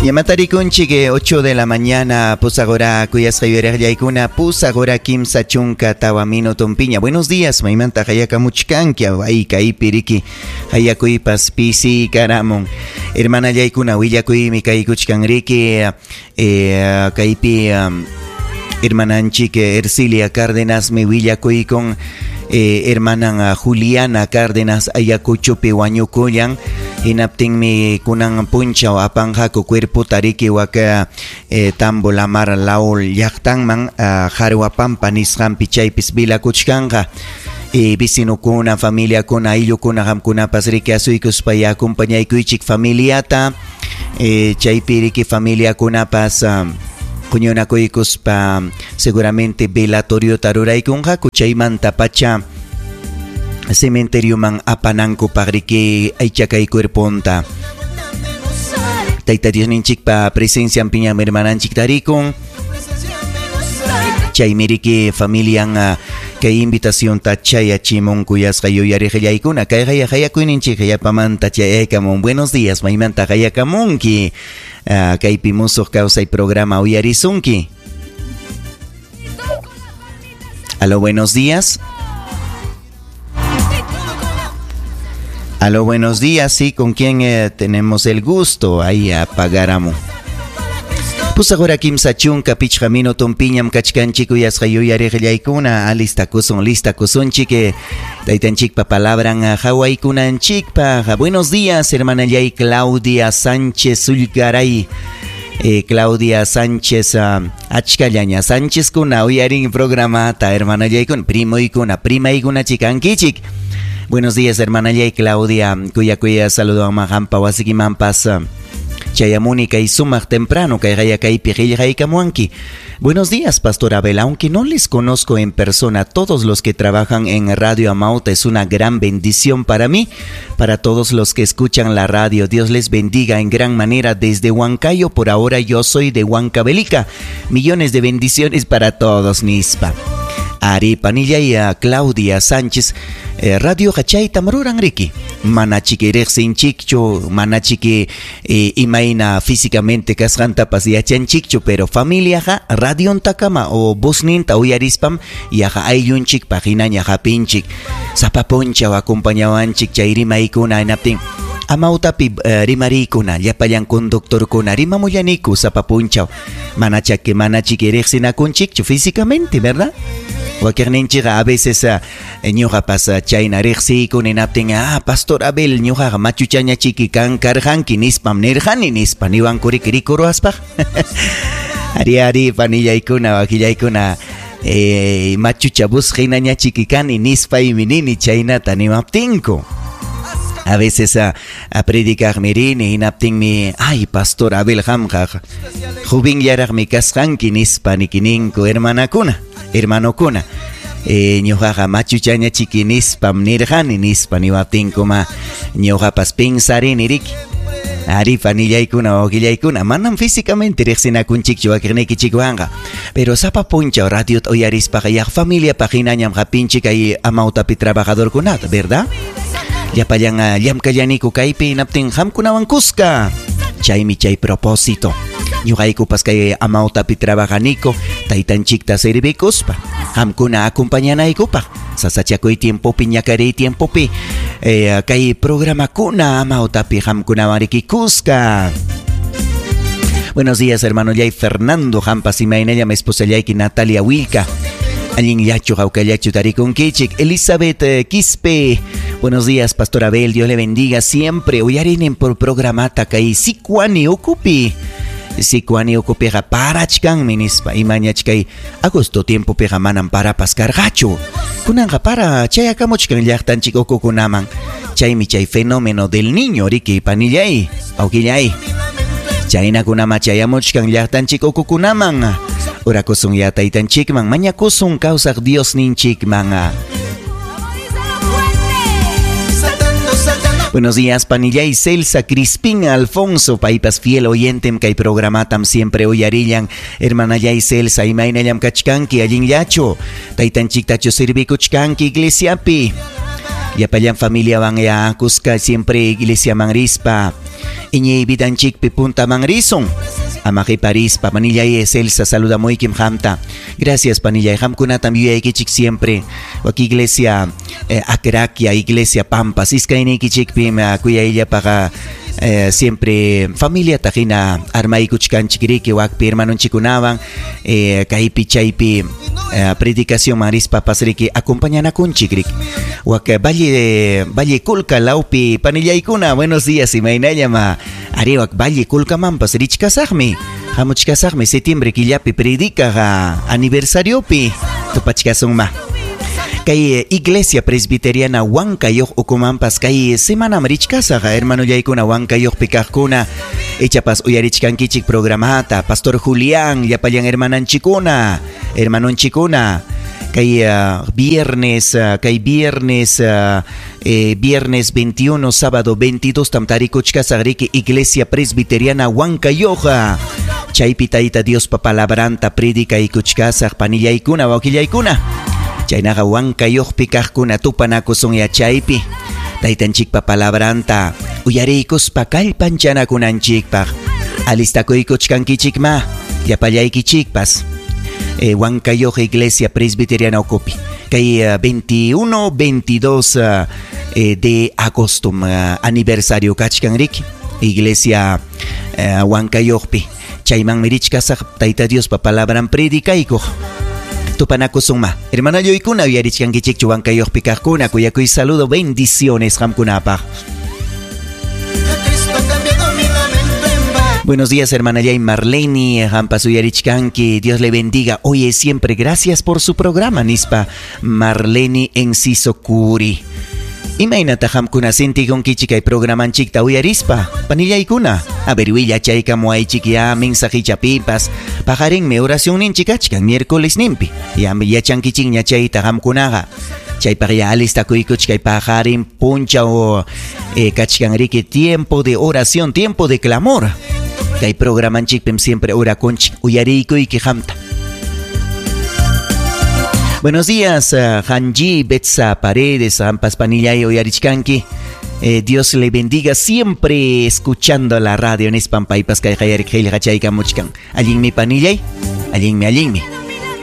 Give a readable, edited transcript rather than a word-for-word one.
Yamatarikunchik 8 de la mañana, pusaq hora kuyasqa yuyariqllaykuna, pusaq hora 34 minutonpiña. Buenos días, maymanta qayakamuchkanki, ay kaypi riki hayakuypas pisiykaramun. Hermanallaykuna willakuymi kaykuchkan riki, kaypi hermananchik Ercilia Cárdenasmi willakuykun, hermanan Juliana Cárdenas Ayacuchopi wañukullan, hinaptinmi kunan punchaw apanqaku cuerpota riki waka Tambo Lamar Laul llaqtanman, Jarwapampa nisqanpi chaypis vilakuchkanqa. Vecinokuna, familiakuna, ayllukuna qamkunapas riki asuykuspa acompañaykuychik familiata, chaypi riki familiakunapas huñunakuykuspa seguramente velatoriota ruraykunqaku, chaymanta pacha cementerioman apanankupaq riki aychakay cuerponta. Tayta Diosninchikpa presencianpiñam hermananchik tarikun. Chaymi riki familian kay invitacionta chayachimun kuyasqa yuyariqillaykuna. Kay hayakuyninchik yapamanta chayaykamun. Buenos días, maymanta hayakamunki. Kaypi musuq kawsay programa uyarisunki. Aló, buenos días. Aló, buenos días. Sí, ¿con quién tenemos el gusto? Ahí apagáramos. Pusaq hora 35 minutonpiñam kachkanchik kuyasqa yuyariqillaykuna. Alistakusun, listakusunchik, taytanchikpa palabran hawaykunanchikpaq. Buenos días, hermanallay Claudia Sánchez Sulgaray. Claudia Sánchez, achkallaña Sánchezkuna uyarin programata, hermanallaykuna, primoykuna, primaykuna chikankichik. Buenos días, hermanallay Claudia. Kuya kuya saludo a qampa wasikimanpas. Chayamuni kay sumaq temprano kay kaypi qillqaykamuanki. Buenos días, Pastor Abel. Aunque no les conozco en persona, todos los que trabajan en Radio Amauta es una gran bendición para mí, para todos los que escuchan la radio. Dios les bendiga en gran manera desde Huancayo. Por ahora yo soy de Huancavelica. Millones de bendiciones para todos, nispa. Ari Panilla y a Claudia Sánchez, Radio Hachaytam ruran riki. Manachiki riqsinchikchu, manachiki imayna físicamente kasqantapas yachanchikchu, pero familiaqa radiontakama o vozninta uyarispam yaqa ayllunchikpaq hinaña hapinchik. Sapa punchaw acompañawanchik chay rimaykuna hinaptin amautapi rimariykuna, llapallan conductorkuna rimamullaniku sapa punchaw. Manachaki manachiki riqsinakunchikchu físicamente, ¿verdad? Wakiqninchikqa a veces ñuqapas chayna riqsiykuni hinaptin, Pastor Abel, ñuqaqa machuchañachiki kan karqanki nispam nirqani nispa niwankuriki rikuruwaspaq. Ari ari panillaykuna wakillaykuna, machucha busqhinañachiki kani nispaymi nini chaynata nimaptinku. A veces a predicaqmi rini hinaptinmi, ay Pastor Abel qamqa jovenllaraqmi kasqanki nispa nikininku hermanakuna, hermanokuna. Ñuqaqa machuchañachiki nispam nirqani nispa niwaptinkuma ñuqapas pensarini riki. Ari panillaykuna wawillaykuna manam físicamente riqsinakunchikchu wakiqniykichikwanqa, pero sapa punchaw radiota uyarispaqa yaq familiapaq hinañam hapinchik kay amautapi trabajadorkunata, ¿verdad? Llapallan llamkallaniku kaypi hinaptin qamkunawan kuska. Chaymi chay propósito. Ñuqaykupas kay amautapi trabajaniku taytanchikta servikuspa qamkuna acompañanaykupaq sasachakuy tiempopi ñakariy tiempopi kay programakuna amautapi qamkunawan riki kuska. Buenos días, hermano Yay Fernando Jampas imaynallam esposallayki Natalia Wilka. Allinllachu hawkallachu tarikunkichik. Elizabeth Quispe. Buenos días, Pastor Abel. Dios le bendiga siempre. Uyarinen por programata kay Sicuani ukupi. Sicuani ukupiqa parachkanmi nispa. Imañachkay agosto tiempopiqa manam parapas karqachu. Kunanqa para chayakamuchkan llaqtanchik ukukunaman. Chaymi chay fenómeno del niño riki panillay, awkillay. Chaynakunama chayamuchkan llaqtanchik ukukunaman. Orakusun ya taytanchikman, mañakusun kawsaq Diosninchikman. Buenos días, panillay Celsa Crispín Alfonso, paypas fiel oyentem kay programatam siempre uyarillan. Hermanallay Celsa, imaynallam kachkanki allinllachu. Taytanchiktachu servikuchkanki iglesiapi. Llapallan familiawan ya kuska siempre iglesiaman rispa. Iñiy vidanchikpi puntaman risun. Ama qiparispa panillay Celsa saludamuykim qamta. Gracias panillay, qamkunatam yuyaykichik siempre. Wak iglesia Acraquia, iglesia Pampas, iskayniykichikpim kuyayllapaqa siempre familiata hina armaykuchkanchik riki wakpi hermanonchikkunawan kaypi chaypi predicacionman rispapas riki acompañanakunchik riki. Wak Valle Colca lawpi panillaykuna, buenos días, imaynallam ari wak Valle Colcamanpas richkasaqmi. Hamuchkasaqmi septiembre killapi predicaq aniversariopi tupachkasunma. Kay iglesia presbiteriana Huancayoq ukumanpas kay semanam richkasaq hermanollaykuna Huancayoqpi kaqkuna ichapas uyarichkankichik programata Pastor Julián llapallan hermananchikuna hermanonchikuna kay viernes kay viernes viernes 21 sábado 22 tam tarikuchkasaq riki iglesia presbiteriana Huancayoq chaypi tayta Diospa palabranta predicaykuchkasaq panillaykuna wawqillaykuna. Chaynaqa Huancayoqpi kaqkuna tupanakusun yachaypi taytanchikpa palabranta uyariykuspa kallpanchanakunanchikpaq alistakuykuchkankichikma llapallaykichikpas Huancayoq iglesia presbiteriana ukupi kay 21 22 de agosto aniversario kachkan riki iglesia Huancayoqpi chaymanmi richkasaq tayta Diospa palabran predicaykuq. Tupanakusunma. Hermanallaykuna uyarichkankichikchu Huancayoqpi kaqkuna kuyakuy saludo bendiciones qamkunapaq. Buenos días, hermana Yay Marlene, qampas uyarichkanki, Dios le bendiga hoy y siempre. Gracias por su programa, nispa Marlene Enciso Curi. Imaynata qamkuna sintikunkichik kay programanchikta uyarispa, panillaykuna. A ver, willachaykamuwaychik ya mensajichapipas. Paqarinmi oracionninchik kachkan miércoles nimpi. Ya yachankichikña chayta qamkunaqa. Chaypaq ya alistakuykuchik kay paqarin punchaw kachkan riki tiempo de oración, tiempo de clamor. Kay programanchikpim siempre orakunchik uyariykuyki qamta. Buenos días, Hanji Betsa Paredes, ampas panillay uyarichkanki. Dios le bendiga siempre escuchando la radio nispan paypas kay qayarik qillqachaykamuchkan. Allinmi panillay, allinmi, allinmi.